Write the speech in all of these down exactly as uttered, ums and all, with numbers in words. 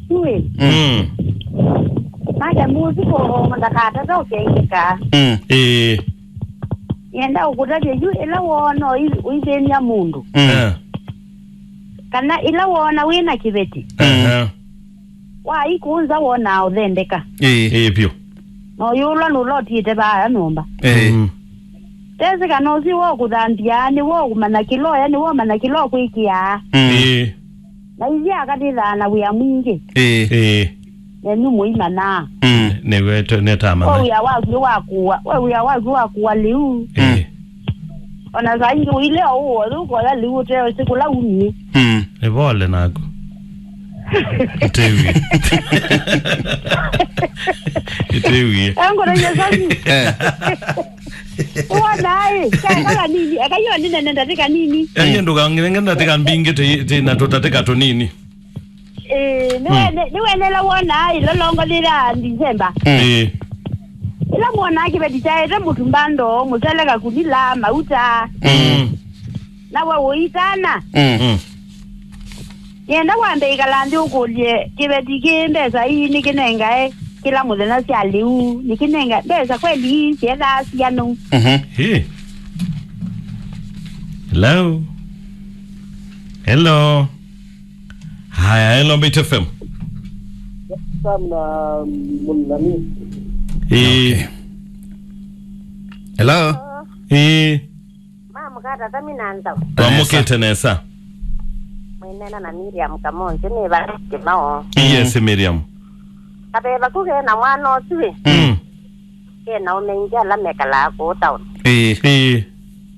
Yu ĩ. Mm. Madamu ũsu kũongo ndakatata ũkengeka. Mm. Ĩĩ. Yenda ũkũtavya yu ĩla woona ũi- ũithĩny'a mũndũ. Mm. Eh. Kana ĩla woona wĩ na kĩveti. Aha. Waikũnza wonaa ũthendeka. Ĩĩ. Ĩĩ vyũ. Na ũyũlwa nũlotĩte vaa nyũmba. Ĩĩ. Mm. Tesĩ kana ũsu wo kũthambia, nĩ wo kũmanya kĩloya, nĩ wo manya kĩlo kwĩkĩaa. Mm. Ĩĩ. Na ithyĩ akatĩthaa na wĩa mwingĩ. Ĩĩ. Ĩĩ. Nenyu mũimanaa. Mm. Nĩwetwe nĩtamana. We wĩa waku wa kũwa, we wĩa waku wa kũwa lĩu. Ĩĩ. Ona saa ingĩ ũile o ũũ, ũkoya lĩu ũteosĩ kũla umie. Mm. Nĩ pole naku. Ĩtĩwie. Ĩtĩwie. Angũrĩie sami. Eh. Wona ĩ, kaeka kanini, eka yo nĩnene ndatĩka nini. Yaani ndũkang'enge ndatĩka mbingĩ tĩ- tĩ na tũtatĩka tũnini. Ĩĩ, nĩwene- nĩwenela wonaa ĩlolongo lĩla December. Mm. Ĩĩ. Ĩla mwonaa kĩveti kyaete mũtumba ndoo, mũsele kakunila, mauta. Mm. Nawe ũitana. Mm. Mm. Nĩenda wambe ĩkala nthĩ ũkũlye, kĩveti kĩ mbesa ii nĩkĩnengae kĩla mũthenya sya lĩu? Nĩkĩnenga mbesa kweli ii syethaa sianu? Mhm. Hey. Hello. Hello. Haya, hello, Mbaitu F M. Sam na, mm, nani? Eh. Okay. Hello. Eh. Mamũkata thami na nzau. Twamũkĩte nesa. Mwĩnena na Miriam Kamonzi, nĩ va Kimao. Yes, Miriam. Kaveva ku kena mwana ũsu ĩ. Mm. Kena aume aingĩ ala mekalaa kũu town. Ĩĩ. Ĩĩ.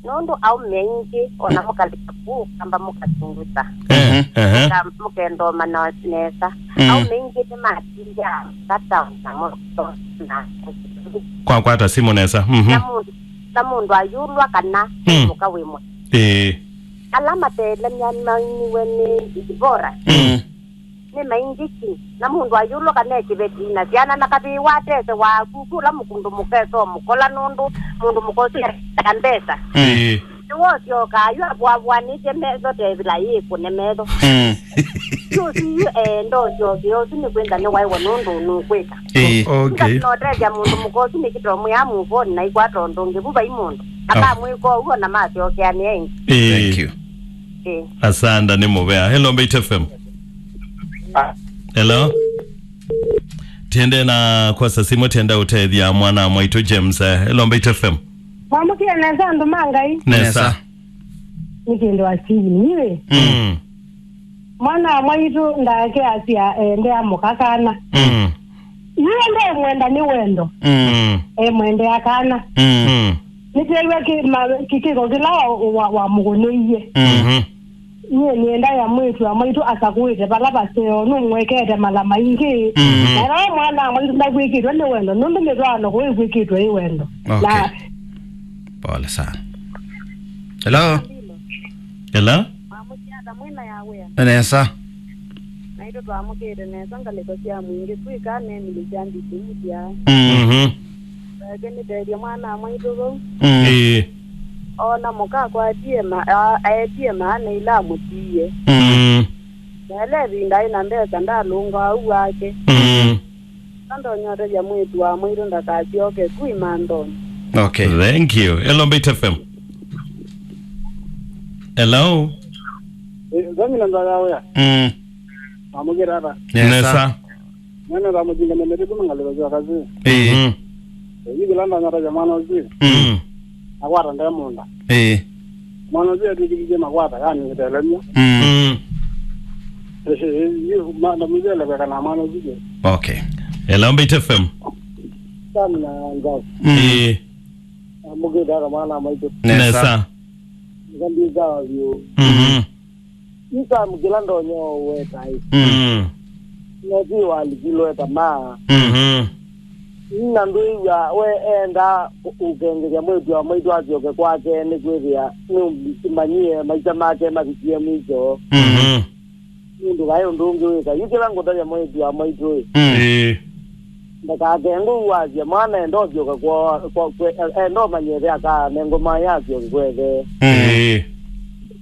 Nũndũ aume aingĩ, ona mũkalika kũu, kamba mũkatunguta. Eh, mhm. Ehe. Mũka- mũkendoma na nesa. Mm. Aume aingĩ nĩmatindaa ka town na mũtona. Kwakwata simũ nesa. Mhm. Na mũndũ, na mũndũ ayũlwa kana Mm. mũka wĩ mwe. Ĩĩ. Ala matelemya mainiwe nĩ Dibora. Mm. Nĩ maingĩ ki, na mũndũ ayũlwa kana e kĩveti na syana, na kavĩĩ watese waku, kũla mũkũndũ mũkesa mũkola nũndũ mũndũ mũkosi na mbesa. Mm. Ĩĩ. Nĩwosyokaa yu avũavũanĩtye metho tevila yĩkũne metho. Mm. Yu ũsu yu eenda ũsyokea ũsu nĩ kwĩnza nĩwaĩwa nũndũ nũkwĩka. Ĩĩ. Okay. Notethya mũndũ mũkosi nĩkĩtomwĩa muvoni na ikwata ũndũ ũngĩ vu vai mũndũ. Oh. Akamwĩka ũu ona masyokeanĩa ĩngĩ. Ĩĩ. Thank you. Ĩĩ. Asanda nĩ mũvea. Hello, Mbaitu F M. Hello. Tiende na kwasa simũ, tienda ũtethya mwana mwaitũ James. Eh, hello, Mbaitu F M. Mwamũkĩe nesa andũ ma Ngai. Nesa. Nesa. Nĩ kĩndũ wa Steven, niwe. Mm. Mwana wa mwaitũ ndake asya ende amũka kana. Mm. Iwe ndemwenda nĩ wendo. Mm. Emwendea kana. Mm. Nĩtwew'a kĩ- ma- kĩkĩko kĩla wa- wa- wamũkũnĩie. Mhm. Nyie nĩenda ya mwĩĩtu wa mwaitũ asakũĩte vala vaseo, nũmwekete mala maingĩ. Mhm. Na ĩla mwana wa mwaitũ ndakwĩkĩtwe nĩ wendo, nũndũ mĩtwaano kũu ĩkwĩkĩtwe ĩ wendo. Okay. Na pole sana. Hello. Hello. Mwamũkĩata mwĩna ya wĩa. Nesa. Naitũ twamũkĩte nesa ngalĩko sya mwingĩ kwĩka nemili sya nditĩmũsya. Mhm. Eke nĩtethye mwana mwaitũ vau. Mm. Ĩĩ. Ona mũka akwatie ma- a- aetie maana ila amũtiie. Mm. Na ĩla ĩvinda ĩ na mbesa ndalũnga au wake. Mm. Andonyotethya mwĩĩtu wa mwaitũ ndakasyoke ku imanthonĩ. Okay. Thank you. Hello, Mbaitu F M. Hello. Eh, nzami na nzaya wĩa. Mm. Mamũkĩra ata? Nesa. Nesa. Nene ta mũjinga nene tu mangaliro kwa kazi. Eh. Mm. Eh, hivi landa ngata ya mwana uzi. Mm. Akwata ndaya munda. Eh. Mwana ũsu etw'ĩkĩthye makwata, yani nĩtelemya. Mm. Mm. Ĩĩ, yu, ma- na mũthele kweka na mwana ũsu. Okay. Hello, Mbaitu F M. Sam na Ngau. Mm. Ĩĩ. Mũkĩte ata mwana maitũ. Nesa. Nesa. Ngambi sawa vyũ. Mhm. Yu Sam kĩla ndonya weta ĩ. Mm. Noti walikilwe tamaa. Mhm. Na ndwĩw'a we enda ũ- ũkengethya mwĩĩtu wa mwaitũ asyoke kwake, nĩkwĩthĩa nĩũmanyie maisha make mavikie mwicho. Mhm. Nũndũ vai ũndũ ũngĩ wĩka. Yu kĩla ngũtavya mwĩĩtu wa mwaitũ ĩ, Mm. Ĩĩ. Ndakakengwe ũu wasya mwana enda ũsyoka kwa, kwa, kwe- enda ũmanyie ĩthe akanengwe maĩ asyoke kwethe. Mm. Ĩĩ.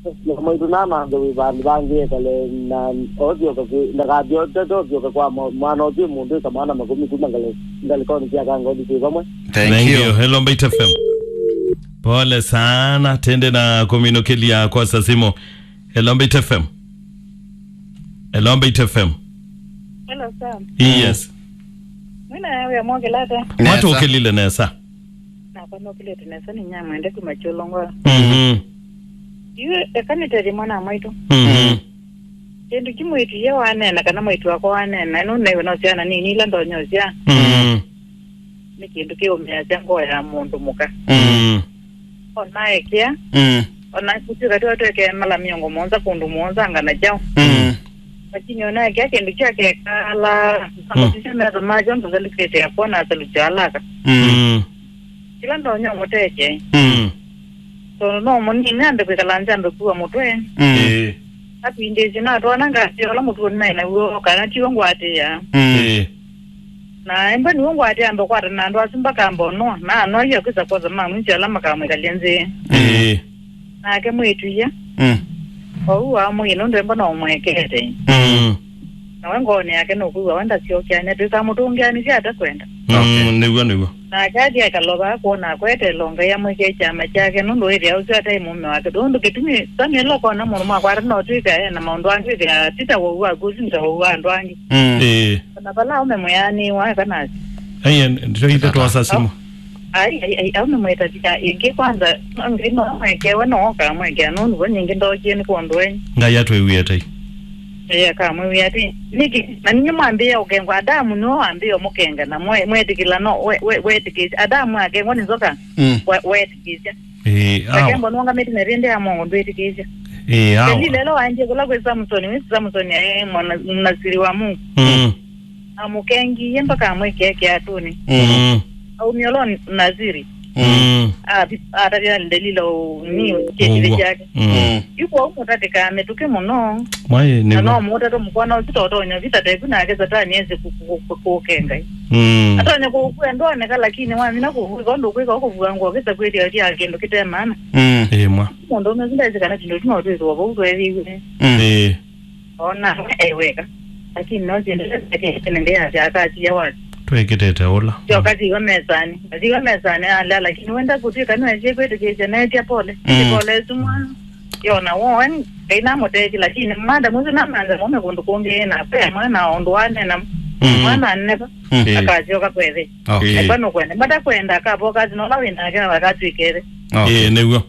Mwaitũ na manthe wĩ vandũ vangĩ ekale na othyoka ndakathi otete othyoka kwa mwa- mwana ũtwĩ mũndũ ĩka maana makũmi kuma ngale- ngalĩkonĩ sya kangoni twĩ vamwe. Thank Thank you. You. Hello, Mbaitu F M. Pole sana, tende na kuminũkĩlya kwa sasimo. Hello, Mbaitu F M. Hello, Mbaitu F M. Hello, Sam. Yes. Mwina yawe ya mwakilata. Nesa. Mwatũkĩlile nesa. Nakwa nokilete nesa ni nyamwende kuma Kyolongo. Mhm. Yu eka nĩtethye mwana wa mwaitũ. Mhm. Kĩndũ kĩmwĩtu ye wanena kana mwaitũ wakwa wanena, ĩno nĩwe no syana nini ila ndonyosya. Mhm. Nĩ kĩndũ kĩũmĩasya ngoo ya mũndũ mũka. Mhm. Onaekea, Mm. ona kũtuĩka twa twekee mala mĩongo mũonza kũndũ mũonza ngana kyaũ. Mm. Lakini onaekea kĩndũ kyakekala, Mm. sisya metho makyo ndũthalũkĩte yakwa na asalukyo alaka. Mm. Mm. Kĩla ndonya mũteke. Mm. Tondũ no mũnini ambe kwĩkala nze ambe kuwa mũtwe. Mm. Ĩĩ. Atwindĩsye natwana ngasya ũla mũtuo naĩ naw'o kana tiwe ngwatĩĩa. Mm. Ĩĩ. Na embwa nĩw'o ngwatĩĩa ambe kwatana na andũ asu mbaka mbono na anwaia kwĩsa kwosa mamwĩsya ala makamwĩkalya nzĩ. Ĩĩ. Nake mwĩtu ia. Mm. Ou amwĩie nũndũ embwa no ũmwekete. Mm. Nawe ngoonĩ yake nũkwĩw'a we ndasyokeanĩa twĩkamũtũngĩanĩsya atakwenda. Mm, nĩw'o, nĩw'o. Nake athi akalova kwona akwetela Ngai amwĩkĩe kyama kyake, nũndũ wĩthĩa ũsu ataĩ mũũme wake. Nũndũ kĩtumi Samuel akona mũndũ mwakwata no twĩka e na maũndũ angĩ wĩthĩa ti ta wau waku ũsu nĩ ta wau wa andũ angĩ. Mm. Ĩĩ. Ona vala aume mwĩanĩwa eka nasi. Aiye, ndito ithe twosa simu. Ai, ai, ai, aume mwĩtavika ĩngĩ kwanza, Ngai no amwekewe no oka amwekea nũndũ vo nyingĩ ndokie nĩ kwondũ wenyu. Ngai atwĩwie tai. Ĩĩ, akamwĩwĩa atĩ, nĩkĩ, na ninyie mwambĩĩa ũkengwa, Adamu nĩwe wambĩĩa ũmũkenga, na mwe- mwetĩkĩla, no, we- we- wetĩkĩsya. Adamu akengwa nĩ nzoka, Mm. we- wetĩkĩsya. Ĩĩ, awa. Akengwa nũngamĩte na ĩvĩndĩ ya mongo ndwĩtĩkĩsya. Ĩĩ, awa. Delila ĩla waendie kũla kwĩ Samusoni, wĩsĩ Samusoni aĩ mwana- mnasiri wa Mungu. Mm. Amũkengie mpaka amwĩkĩe kĩatũnĩ. Mm. Aumie ũla Naziri. Mm. Athi- atavya Delila ũni kĩtĩvĩ Ũw'o. Kyake. Mm. Mm. Yu kwoou mũtatĩkaa mĩtũkĩ mũno. Mwaĩ na nĩw'o. No mũũtate mũkwana ũsu totonya vita teku nake Satani ese kũ- kũ- kũ- kũũke Ngai. Mm. Atonya kũũkua ndoneka, lakini wamina kũvw'ĩka ũndũ ũkwĩka ũkũvua ngoo kĩsa kwĩthĩa ũthyaa kĩndũ kĩte maana. Mm. Ĩĩ mwa. Mũndũ ũmwe ũsu ndesĩ kana tũndũ tũno twĩthĩwa vau tweethĩiwe. Mm. Ĩĩ. Ona we aiweka. Lakini no siendelee kene ndia ya kati ya watu. Twekitete ũla. Sio kati wa mesani. Kati wa mesani ala, lakini wenda kutwika no aje kwetu kije na etia pole. Mm. Pole sumwa. Yona wo en kaina moteki, lakini mada muzi na manza mume kundu kungi na pe mwana ondo wane na Mm. mwana neba. Mm. Akajoka kwethe. Okay. Eba no kwenda. Mada kwenda ka boka no la wenda kana wakatwikere. Okay. Ĩĩ, nĩw'o.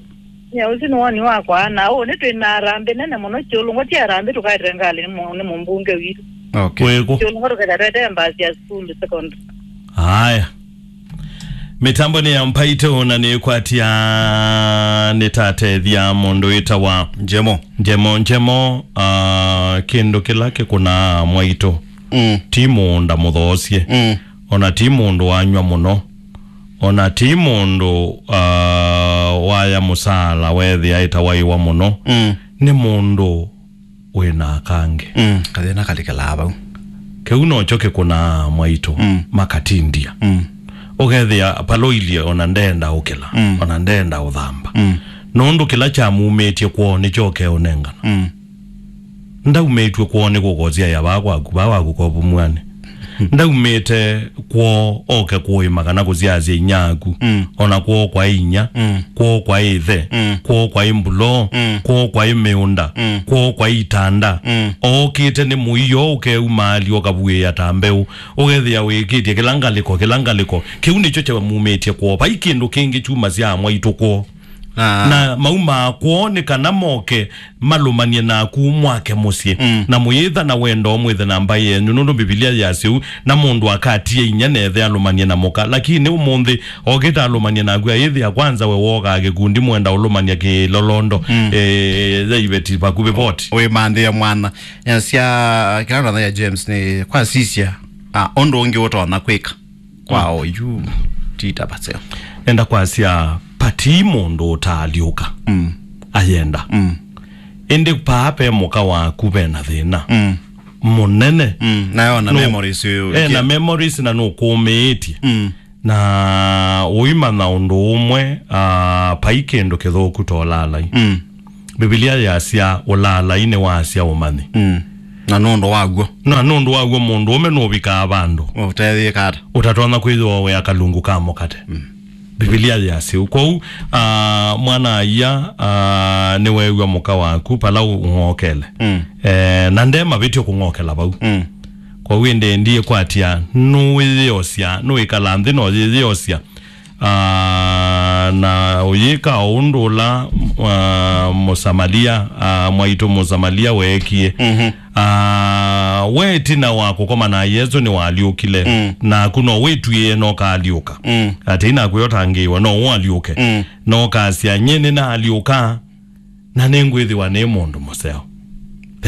Nya ũsu nĩ woni wakwa, na ũũ nĩ twĩ na harambĩ nene mũno. Kyũlũngwa ti harambĩ tũkaetee ngalĩ nĩ mũ- nĩ mũmbunge witũ. Okay. Kwĩkũ? Kyũlũngwa tũketha twetee mbasi ya sukulu secondary. Haya. Mĩtambo nĩ ya Mbaitũ na nĩkwatya nĩtatethya mũndũ wĩtawa Njemo. Njemo, Njemo, ah, kĩndũ kĩla kĩkũnaa mwaitũ. Mm. Ti mũũnda mũthoosye. Mm. Ona ti mũndũ wanywa mũno. Ona ti mũndũ, ah, waya mũsaala weethĩa ĩtawaiwa mũno. Mm. Nĩ mũndũ wĩ na akangĩ. Mm. Kathĩna kalikĩlaa vau. Kĩu nokyo kĩkũnaa mwaitũ Mm. makatindia. Mm. Ũkethĩa paloilie ona ndenda ũkĩla, Mm. ona ndenda ũthamba. Mm. Nũndũ kĩla kyamumĩtye kwoo nĩkyo ũkeũnengana. Mm. Ndaumĩtw'e kwoo nĩ kũkosyaĩa vaa kwaku, vaa waku kovumw'anĩ. Ndaumĩte kwoo oke kũĩma kana kũsyaasya inyaaku. Mm. Ona kwoo kwaĩ inya, Mm. kwoo kwaĩ ĩthe, Mm. kwoo kwaĩ mbuloo, Mm. kwoo kwaĩ mĩũnda, Mm. kwoo kwaĩ itanda. Mm. Ookĩte nĩ mũio ũkeumaalya ũkavuĩĩa ta mbeũ. Ũkethĩa wĩkĩtye kĩla ngalĩko, kĩla ngalĩko. Kĩu nĩkyo kyamumĩtye kwoo. Vai kĩndũ kĩngĩ kyumasya mwaitũ kwoo. Ah. Na maumaa kwoo nĩ kana moke malũmanie naku mwake mũsyĩ. Mm. Na mũyĩtha na wendo mwĩthe na mbaĩ yenyu, nũndũ Mbivilia yasya ũu, na mũndũ akatia inya na ĩthe alũmanie na mũka. Lakini ũmũnthĩ okĩte alũmanie naku, ayĩthĩa kwanza we wokaa kĩkundi mwenda ũlũmania kĩlolondo, Mm. eh, ya iveti vakuvĩ voti. Wĩmanthĩa mwana. Yasya, kĩla ndona ya James nĩ kwasisya, ah, ũndũ ũngĩ ũtonya kwĩka. Kwa Mm. oyu, ti ta paseo. Nenda kwasya, pati mũndũ ũtaalyũka. Mm. Ayenda. Mm. Ĩndĩ paa pe mũka waku ve na thĩna. Mm. Mũnene. Mm. Nayo na Nũ- memories yu- eh, na memories na nũkũmĩĩtye. Mm. Na ũimanya ũndũ ũmwe, ah, pai kĩndũ kĩthũku tolalai. Mm. Mbivilia yasya, "Ũlaalai nĩ wasya ũmanyi." Mm. Na nũndũ wa w'o. Na nũndũ wa w'o mũndũũme nũvikaa vandũ ũtethĩĩka ata? Ũtatonya kwĩthĩwa wĩa kalungu ka mũkate. Mm. Mbivilia yasya ũu. Kwoou, ah, mwana-a-ia, ah, nĩweew'a mũka waku vala ũng'okele. Mm. Eh, na nde mavĩtyo kũng'okela vau. Mm. Kwoou ĩndĩ ndiĩkwatya, nũwĩyĩosya, nũĩkala nthĩ na ũyĩyĩosya. Ah, na ũyĩka o ũndũ ũla, ah, Mũsamalia, ah, mwaitũ Mũsamalia weekie. Mhm. Ah, we ĩtina wa kũkoma na Yesũ nĩwalyũkile. Mm. Naku no wĩtw'ĩe no kaalyũka. Mm. Atĩ inakwĩa ũtangĩĩwa, no ũalyũke. Mm. No kasya, "Nyie nĩnaalyũka, na nĩngwĩthĩwa nĩ mũndũ mũseo."